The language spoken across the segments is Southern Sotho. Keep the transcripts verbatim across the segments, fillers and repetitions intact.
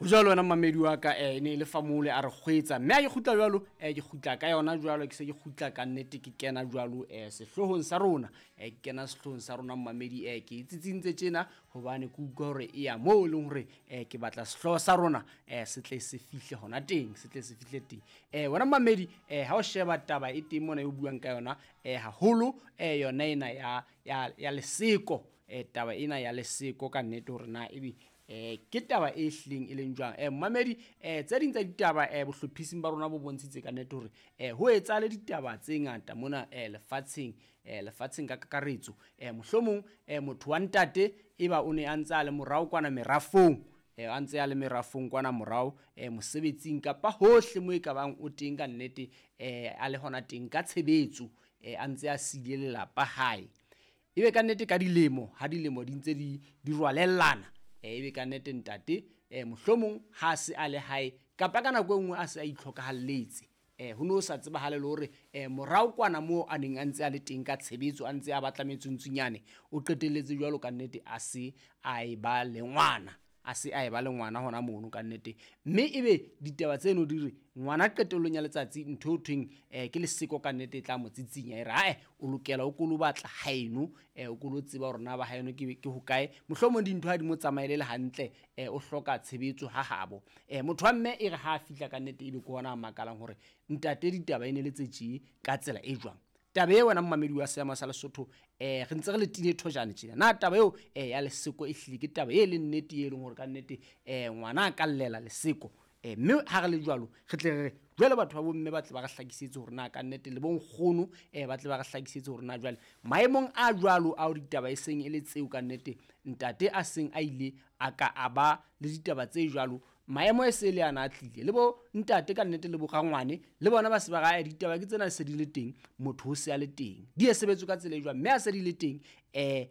Ho jwalo wena mmamedi wa ka, eh, e ne e le Famole a re kgwetsa, mme ha ke kgutla jwalo, eh, ke kgutla ka yona jwalo, ke se ke kgutla ka nnete, ke kena jwalo, eh, sehloohong sa rona, eh, ke kena sehloohong sa rona mmamedi, eh, ke tsitsintse tjena hobane ke utlwa hore e ya moo e leng hore, eh, ke batla sehlooho sa rona, eh, se tle se fihle hona teng, se tle se fihle teng. Eh, wena mmamedi, eh, ha o sheba taba e teng mona e o buang ka yona, eh, haholo, eh, yona ena ya, ya, ya leseko, eh, taba ena ya leseko ka nnete hore na ebe eh ke taba e hlileng e leng jwang. Eh mmamedi, eh tse ding tsa ditaba, eh bohlophising ba rona bo bontshitse ka nnete hore, eh ho etsahale ditaba tse ngata mona, eh lefatsheng, eh lefatsheng ka kakaretso. Eh mohlomong, eh motho wa ntate eba o ne a ntse a le morao kwana merafong, eh a ntse a le merafong kwana morao, eh mosebetsing kapa hohle mo e ka bang o teng ka nnete, eh a le hona teng ka tshebetso, eh a ntse a siile lelapa hae. Ebe ka nnete ka dilemo, ha dilemo di ntse di, di rwalellana, eh, ebe ka nnete ntate, eh, mohlomong ha se a le hae kapa ka nako e nngwe a se a itlhokahalletse, eh, ho no sa tsebahale le hore, eh, morao kwana moo a neng a ntse a le teng ka tshebetso, a ntse a batla metsuntsunyane, o qetelletse jwalo ka nnete a se a e ba le ngwana, a se a e ba le ngwana hona mono ka nnete. Mme ebe ditaba tseno di re ngwana qetellong ya letsatsi ntho eo thweng, eh, ke leseko ka nnete e tla mo tsitsinya, e re ae o lokela o ko lo batla haeno, eh, o ko lo tseba hore na ba haeno ke, ke hokae, mohlomong dintho ha di mo tsamaele le hantle, eh, o hloka tshebetso ha habo. Eh, motho wa mme e re ha a fihla ka nnete ebe ke hona a makalang hore ntate ditaba e ne le tse tjee ka tsela e jwang. Taba e wena mmamedi wa Seema sa Lesotho, eh, re ntse re le tile thojane tjena. Na taba eo, eh, ya leseko e hlile ke taba e leng nnete, e leng hore ka nnete, eh, ngwana a ka llela leseko. Eh, mme ha re le jwalo, re tle re re jwale batho ba bomme ba tle ba re hlakisetse hore na ka nnete le bonkgono, eh, ba tle ba re hlakisetse hore na jwale maemong a jwalo ao ditaba e seng e le tseo ka nnete, ntate a seng a ile a ka a ba le ditaba tse jwalo, maemo e se le ana a tlile le bo ntate ka nnete le bo rangwane le bona ba se ba ra ditaba ke tsena se di le teng, motho o se a le teng, di e sebetswe ka tsela e jwang, mme a se di le teng, eh,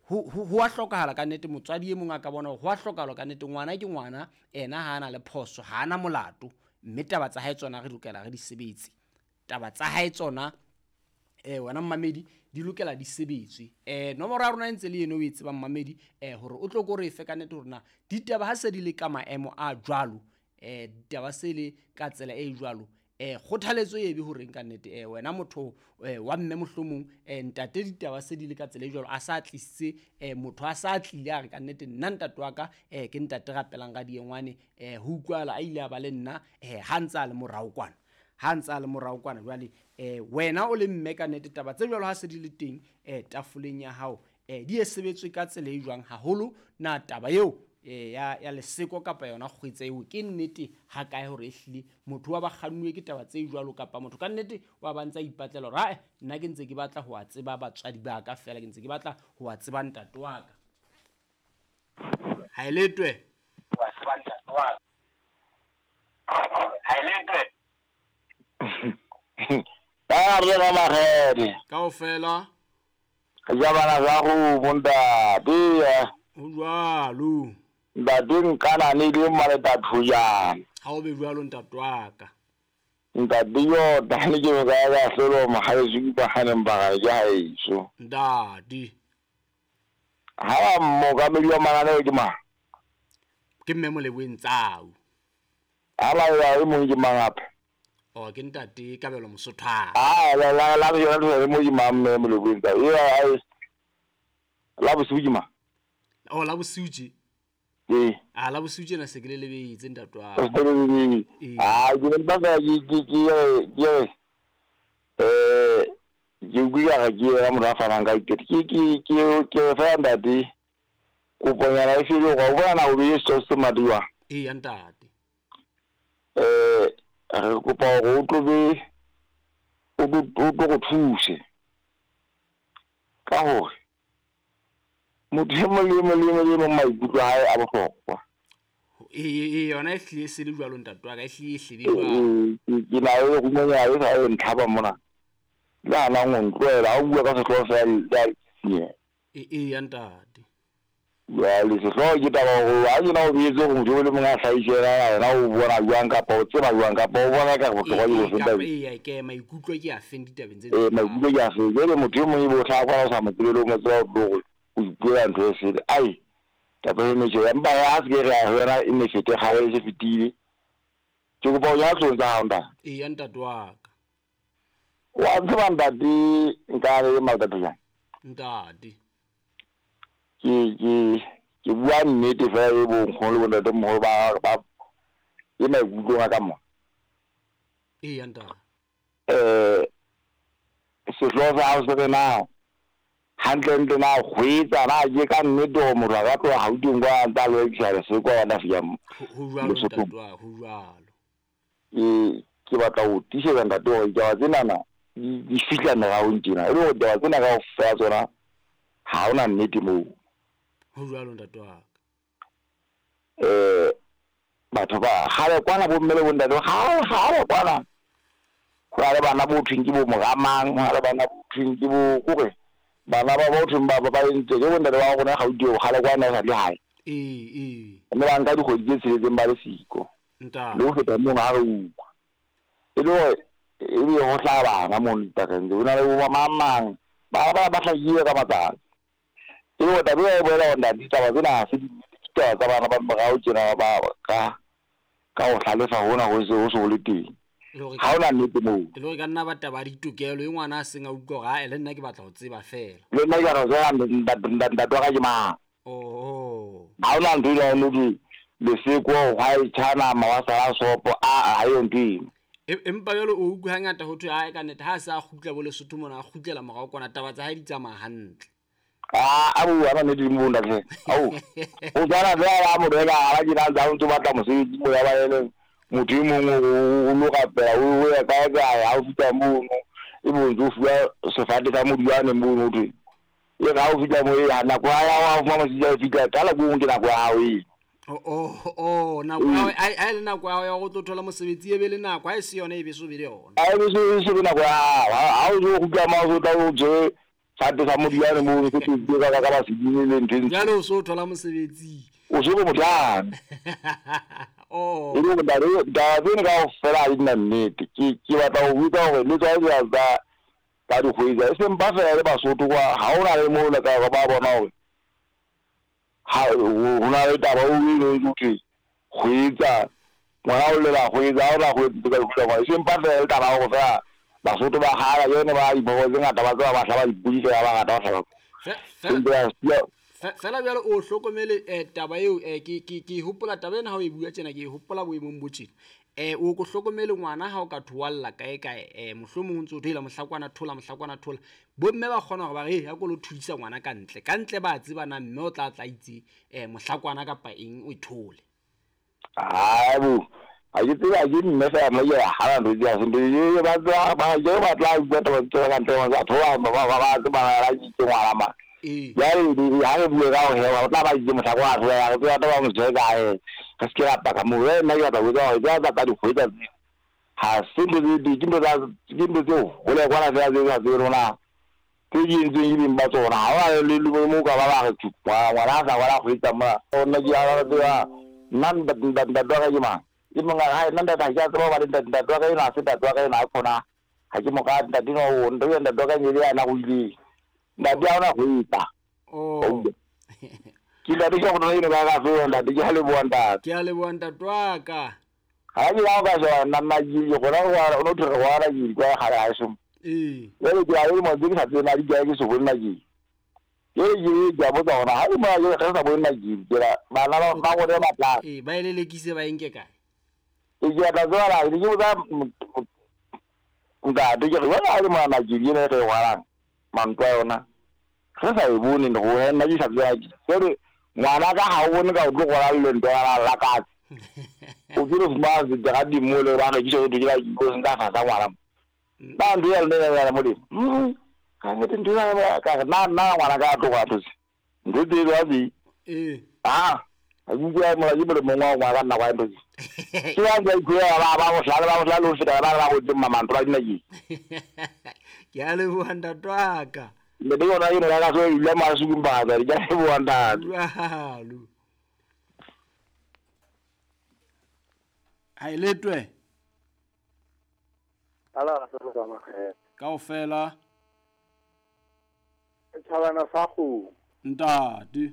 ho, ho, ho a hlokahala ka nnete motswadi e mong a ka bona hore ho a hlokahala ka nnete ngwana ke ngwana, ena ha ana le phoso, ha ana molato, mme taba tsa hae tsona re lokela re di sebetse. Taba tsa hae tsona, eh, wena mmamedi, di lokela di sebetswe. Eh, nomoro ya rona e ntse le eno o e tsebang mmamedi, eh, hore o tlo ko re fe ka nnete hore na ditaba ha se di le ka maemo a jwalo, eh, ditaba se le ka tsela e jwalo, eh, kgothaletso e be horeng ka nnete, eh, wena motho, eh, wa mme mohlomong, eh, ntate ditaba se di le ka tsela e jwalo, a sa tlisitse, eh, motho a sa tlile a re ka nnete nna ntate wa ka, eh, ke ntate Rapelang Radiengwane, eh, ho utlwahala a ile a ba le nna, eh, ha ntse a le morao kwana, ha ntse a le morao kwana jwale, eh, wena o le mme ka nnete taba tse jwalo ha se di le teng, eh, tafoleng ya hao, eh, di e sebetswe ka tsela e jwang haholo, na taba eo, eh, ya, ya leseko kapa yona kgwetsa eo ke nnete ha kae hore ehlile motho wa ba kgannuwe ke taba tse jwalo, kapa motho ka nnete wa ba ntse a ipatlela hore, ae, nna ke ntse ke batla ho a tseba batswadi ba ka feela, ke ntse ke batla ho a tseba ntate wa ka. Ha e letwe. Ho a tseba ntate wa ka. Ha e letwe. Ba re ba magede. Kaofela. Ja bana ba go bontate. Ho jwalo. Ntate nkana ne le mmaleta thujana. Ha o be jwalo ntate wa ka. Ntate yo tane ke ka ka hlolo mohaeso ba haneng ba ga ke haeso. Ntate. Ha ba mookamedi wa mananeo ke mang? Ke mme Moleboeng Tsau. Ha ba ya e mong ke mang hape? O ke ntate Kabelo Mosothwana. Ah, la la la yona le mo ke mang mme Moleboeng Tsau. E a la bosiu ke mang? O la bosiu tje. Ee. Ah, la bosiu tjena se ke le lebetse ntate wa ka. Ah, ke ne ba ka ke ke ke ke eh ke utlwile ga ke ya motho a fanang ka dikete. Ke ke ke ke fa ntate koponyana e fele go bona na o be se se madiwa. Ee ya ntate. Eh re kopa hore o tlo be o tlo go thuse ka hore motho e mong le e mong le e mong le e mong maikutlo a hae a bohlokwa. Ee, ee, yona e hlile e se le jwalo ntate wa ka, e hlile e hlile jwalo. Ke na le rumenyana e sa e ntlhaba mona. Le hanang ho ntlohela, ha o bua ka sehlooho feela le a tsitsinya. Ee, ee ya ntate. Jwale sehlooho ke taba hore ha ke na o boetse hore motho e mong a hlahise yena, yena o bona jwang kapa o tseba jwang kapa o bona ekare bohlokwa ke bofe Kapa tabeng. ee, ke maikutlo ke a feng ditabeng tse Ee, maikutlo ke a feng. Jwale motho e mong ebe o hlaha kwana o sa mo tsebe le o mo tseba o tlo hore o ipuela ntho e sele. Ai, Taba e ne tjena empa ha se ke re ya yona e ne fete kgale e se fetile. Ke kopa o ya tlong tsa hao ntate. Eya ntate wa ka. Wa tseba ntate nka re mathata jang? Ntate. Ke ke ke bua nnete fela e bo nkgono le bontate moholo ba ba e maikutlong a ka mo. Eya ntate. Eh sehlooho sa hao se re na hantlentle na kgweetsa na ke ka nnete hore motho a ka tloha Gauteng kwa a ntse a lo rekisa leseko a bona fihla Ho ho jwalo Lesothong. ntate wa, ho jwalo. Ke ke batla ho tiisetsa ntate hore ditaba tsenana di di fihla meraong tjena e le hore ditaba tsena kaofela tsona ha hona nnete moo. Ho jwalo ntate wa ka. Eh batho ba kgale kwana bo mme le bo ntate kgale kgale kwana ho na le bana bo thweng ke bo moramang, ho na le bana bo thweng ke bo kore bana ba bo thweng ba ba ba entse ke bo ntate ba rona Gauteng kgale kwana e sa le hae. Ee ee. Mme ba nka dikgwedi tse tsheletseng ba le siko. Le Ntate. ho feta mono ha re utlwa. E le hore ebe ho hlaha bana mono dipakeng tseo. Ho na le bo mang mang ba ba ba hlakile ka matsatsi. E le hore taba ena e bolela hore ntate ditaba tsena ha se dinnete, ke ditaba tsa bana ba morao tjena ba ka ka ho hlalefa hona ho se ho se ho le teng. Le hore Ha hona nnete moo. e le hore ka nna ba taba ya ditokelo e ngwana a seng a utlwa hore ae le nna ke batla ho tseba fela. Le nna ke batla ho tseba ntate ntate wa ka ke mang. Oho. Ha hona ntho e leng hore leseko hwa e tjha nama wa sala sopo a ha eyo ntho eno. Empa jwale o utlwe hangata ho thwe ae ka nnete ha a se a kgutla bo Lesotho mona a kgutlela morao kwana taba tsa hae di tsamaya hantle. Ah a bua ba nnete mo ntate. Ao. O tswana fela ha motho eka ha ke na ntse o batla mosebetsi mo ya ba ele motho e mong o lo rapela o ya kae kae ha o fihla mono e bo ntso fuwa sefate sa modiwane mono ho thwe. E re ha o fihla mo e nako ya hao ha o fumana mosebetsi ha o fihla qala ko ke nako ya hao eo. Oh oh oh nako ya ai ai le nako ya ho tlo thola mosebetsi e be le nako ha e se yona e be so be le yona. Ha e se se be nako ya hao ha o zo kgutla ma o tla o je sefate sa modiwane mono se tlo ka ka ba sedimo le ntho e. Jwale o so thola mosebetsi. O se go motjane. Oh. E le hore ditaba tsena kaofela ha di na nnete. Ke ke batla ho botsa hore le tswa tsa tsa dikgwedi e seng ba fela le Basotho kwa ha hona le moo le ka ba bona hore ha ho na le taba o e leng ho kgwetsa ngwana o lela kgwetsa ha o la kgwetsa ka kgwetsa ngwana e seng ba fela le taba hore fela Basotho ba kgala yone ba diphoofolo tse ngata ba tseba ba hlaba dipodi fela ba ngata ba hlaba. Fela jwale o hlokomele eh taba eo eh ke ke ke hopola taba ena ha o e bua tjena ke hopola boemong bo tjena. Eh o ko hlokomele ngwana ha o ka thoalla kae kae eh mohlomong o ntso thola mohlakwana thola mohlakwana thola bomme ba kgona hore ba re ya ko lo thudisa ngwana ka ntle ka ntle ba tseba na mme o tla tla itse eh mohlakwana kapa eng o ithole. Ah bo ha ke tseba ke mme fela mo ya ha ntho di a sente e ba tswa ba je ba tla bua taba tsa ka ntle ba thola ba ba ba tseba ba itse ngwana ma. Jwale ha re bue ka hore ba tla ba itse mohlakwana thola ya re tseba taba mo jwe kae re se ke ra paka mo nna ke batla ho botsa hore tsa tsa dikgwetsa tseo ha se ntho tse di ke ntho tsa ke ntho tseo hole kwana fela tse sa tsebe rona tse di entsweng ke beng ba tsona ha hona le le mo ka ba ba re ngwana a sa ngwana kgwetsa mona nna ke a tseba nna ntate wa ka ke mang e mong a re hai nna ntate ha ke a tseba hobane ntate wa ka enwa ha se ntate wa ka enwa ha kgona ha ke mo rate ntate enwa o ntate ntate wa ka e le yena a ruileng ntate ha ona kgwetsa. Oh. Ke ntate ke go eno ka ka fela ntate ke a leboha ntate. Ke a leboha ntate wa ka. Ha ke ya ka sheba nna nna ke gona go no thwe go ara ke kwa gare ha so. Ee. Jwale ke a le mo ke sa tsebe na di kae ke se bone na ke. Ke ke ke a botsa hore ha e mo ke re sa bone na ke ke ra bana ba ba go ba tla. Ee, ba elelekise ba enke kae? Ke ke tla tseba ke botsa ntate ke re wena ha le mo na ke ene re ngwalang mantwa yona. Re sa e bone go nna ke sa tseba ke ngwana ka ha o bone ka o tlo gola le ntho ya la katse. O ke re fumana dira di mo le ba re ke tšo ke la go nka fa sa ngwana. Ba ntho ya le ya modimo. Mm. Ka nete ntho ya ka na na ngwana ka tlo go thuse. Ntho tse ba di. Eh. Ah, a go ya mo la ke mo ngwa ngwa ka nna kwa ntho. Ke ya go go ya ba ba go hlala ba go hlala o feta ba ba go tse mamantlo ba dina ke. Ke a leboha ntate wa ka. Le be yona eno ka so ile masuku mbatsa di ka leboha ntate. Jwalo. Ha iletwe. Ala sa go makgethe. Kaofela. Thabana sa go. Ntate.